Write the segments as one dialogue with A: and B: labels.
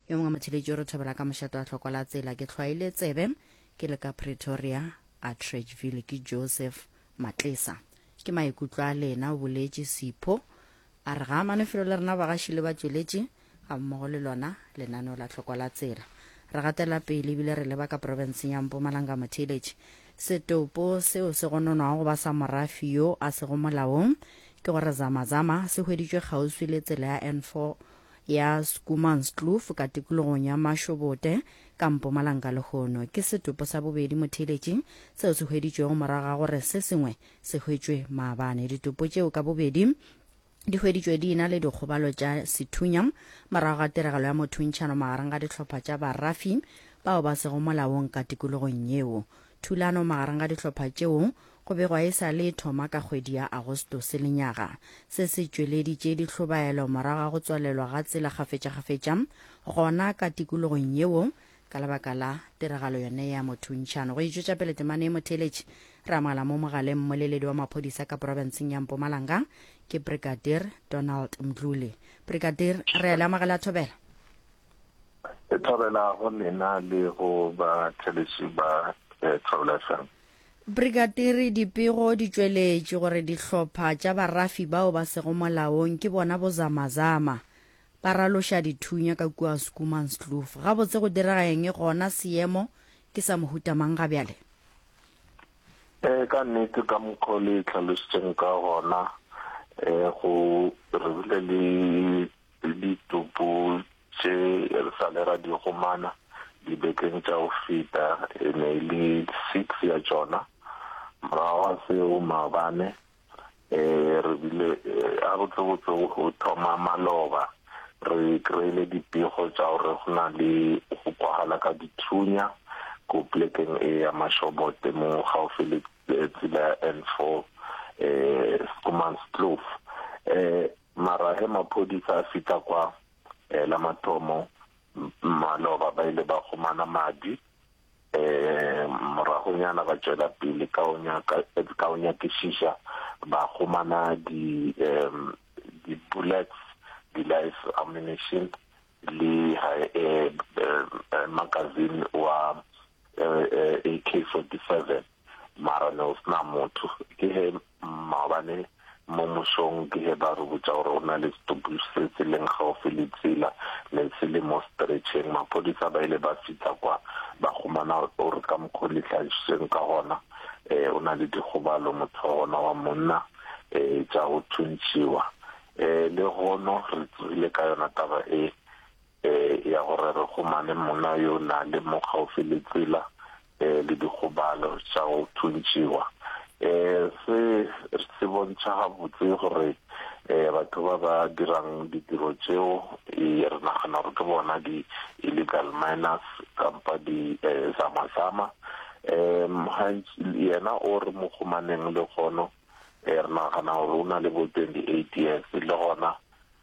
A: Yo mongwe motheletši o re thobela ka mošate wa hloko la tsela ke hlwaile tsebe ke le ka Pretoria Atteridgeville ke Joseph Matlesa. Ke maikutlo a lena, o boletše Sipho. A re ga amane felo le rena bagaši le batšweletši gammogo le lona lenaneo la hloko la tsela. Re gatela pele ebile re leba ka profenseng ya Mpumalanga motheeletši. Setopo seo se gononwago go ba sa morafi yo a sego molaong ke gore Zama Zama se hweditšwe kgauswi le tsela ya N4 ya Schoemanskloof ka tikologong ya Mashobote ka Mpumalanga lehono. Ke setopo sa bobedi motheeletši seo se hweditšwego morago ga gore se sengwe se hwetšwe maabane. Ditopo tšeo ka bobedi di hweditšwe di ena le dikgobalo tša sethunya morago ga tiragalo ya mothuntšhano magareng ga dihlopha tša barafi bao ba sego molaong ka tikologong yeo. Thulano magareng ga dihlopha tšeo go begwa e sa le e thoma ka kgwedi ya Agostose lenyaga. Se se tšweleditše dihlobaelo morago ga go tswalelwa ga tsela kgafetšakgafetša gona ka tikologong yeo Ka lebaka la tiragalo yone ya mothuntšhano, go itšwetša pele temana e motheeletši, re amogela mo mogaleng mmoleledi wa maphodisa ka profenseng ya Mpumalanga, ke Brigadier Donald Mdluli. Brigadier, re a le amogela thobela.
B: E thobela go lena le go batheeletši ba Thobela FM.
A: Brigadier, dipego di tšweletše gore dihlopha tša barafi bao ba sego molaong ke bona bozamazama Ba raloša dithunya ka kua Schoemanskloof. Gabotse go direga eng gona seemo ke sa mohuta mang ga bjale?
B: Ee, ka nnete ka mokgwa o le hlalošitšeng ka gona, go re bile le ditopo tše re sa le ra di gomana dibekeng tša go feta, e ne e le six ya tšona. Morago ga seo maabane Re bile gabotsebotse go thoma maloba re kry-ile dipego tša gore go na le go kwagala ka dithunya ko plekeng e ya Mashobote mo gaufi le tsela ya N4 Schoemanskloof. Mara ge maphodisa a fihla kwa la mathomo maloba ba ile ba humana madi. Moragonyana ba tšwela pele ka go nyaka ka go nyakišiša ba humana di um di-bullets, di-live ammunition le magazine wa AK-47 mara ne go se na motho. Ke ge Maobane mo mosong ke ge ba re botša gore go na le setopo se se leng gaufi le tsela, ne se le mo stretcheng. Maphodisa ba ile ba fihla kwa ba humana gore ka mokgo le hlagišitšeng ka gona o na le dikgobalo motho wa gona wa monna tša go thuntšhiwa. Lehono re tsogile ka yona taba e. ya gore re humane monna yo na le mo kgaufsi le tsela le dikgobalo tša go thuntšiwa. Se se bontšha gabotse gore batho ba ba dirang ditiro tšeo re nagana gore ke bona di-illegal miners kampa di-zamazama. Yena o re mo humaneng lehono re nagana gore o na le bo 28 years le gona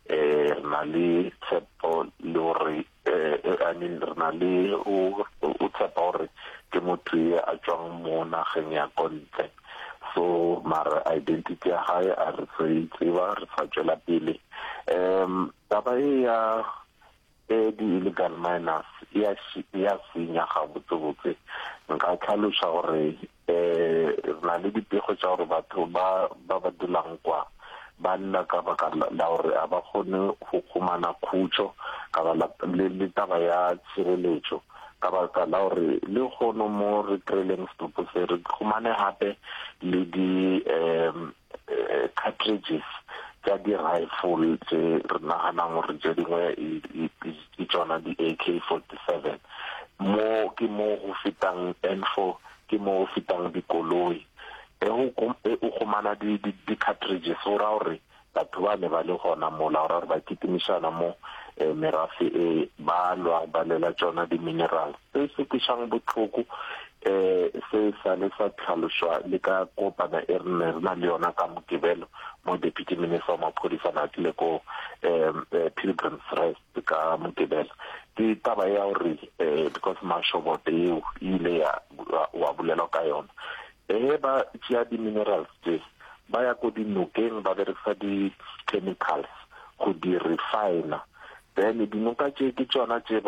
B: Re na le tshepo le gore I mean re na le o tshepa gore ke motho ye a tšwang mo nageng ya ko ntle so mara identity ya gae a re sa e tseba re sa tšwela pele um taba e ya e di-illegal miners e ya senya gabotsebotse nka tlhaloša gore Re na le dipego tša gore batho ba ba ba dulang kwa ba lla ka baka la gore a ba kgone go humana khutšo ka ba le, le taba ya tshireletšo ka baka la gore lehono mo re kry-ileng setopo se re humane gape le di um cartridges tša di-rifle tše re naganang gore tše dingwe ke tšona di-AK-47. Mo ke mo go fetang N4, ke mo go fetang dikoloi. E o humana di-cartridges go ra gore batho ba ne ba le gona mola, go ra gore ba kitimišana mo merafe e ba lwa ba lwela tšona di-minerals. Se se kwešang bohloko um se sa le sa tlhalošwa le ka kopana e re ne re na le yona ka Mokibelo mo Deputy Minister wa Maphodisa na tlile ko um Pilgrim's Rest ka Mokibelo ke taba ya gore um because mashobote eo e ile ya wa bolelwa ka yona ge ba tšea di-minerals tše ba ya ko dinokeng ba berekisa di-chemicals go di refiner then dinoka tše ke tšona tše ba.